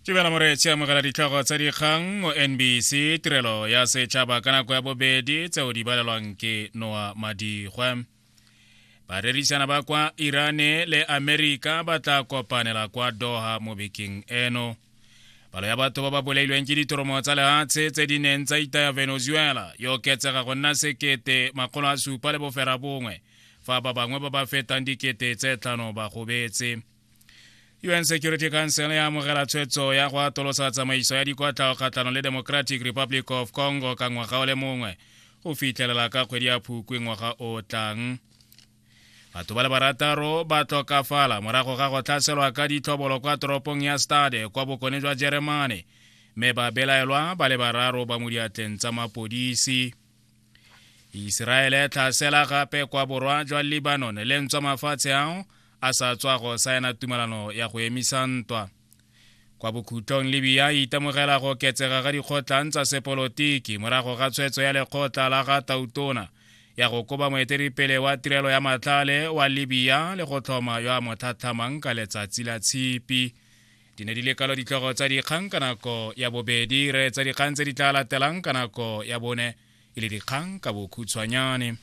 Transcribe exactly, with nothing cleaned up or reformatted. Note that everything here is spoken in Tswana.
Tibela moreetsi, amogela ditlhogo tsa dikgang mo N B C Tirelo ya Setšhaba ka nako ya bobedi, tseo di balelwang ke Noa Madigwe. Barerisana ba kwa Irane le Amerika ba tla kopanela kwa Doha mo bekeng eno. Palo ya batho ba ba bolailweng ke ditoromo tsa lehatshe tse di neng tsa itaya Venezuela e oketsega go nna sekete makgolo a supa le bofera bongwe, fa ba bangwe ba ba fetang dikete tse tlhano ba gobetse. U N Security Council ya amogela tshwetso ya go atolosa tsamaiso ya dikotlao kgatlhanong le Democratic Republic of Congo ka ngwaga o le mongwe, go fitlhelela ka kgwedi ya Phukwi ngwaga o tlang. Batho ba le barataro ba tlhokafala morago ga go tlhaselwa ka ditlhobolo kwa toropong ya Stade kwa bokone jwa Jeremane, mme ba belaelwa ba le bararo ba mo diatleng tsa mapodisi. Iseraele tlhasela gape kwa borwa jwa Lebanon, le ntswa mafatshe ao a sa tswa go saena tumelano ya go emisa ntwa. Kwa bokhutlong, Libya e itemogela go oketsega ga dikgotlang tsa sepolotiki morago ga tshwetso ya lekgotla la ga tautona ya go koba moeteledipele wa tirelo ya matlhale wa Libya le go tlhoma yo a mo tlhatlhamang ka Letsatsi la Tshipi. Di ne di le kalo ditlhogo tsa dikgang ka nako ya bobedi. Re tsa dikgang tse di tla latelang ka nako ya bone e le dikgang ka bokhutshwanyane.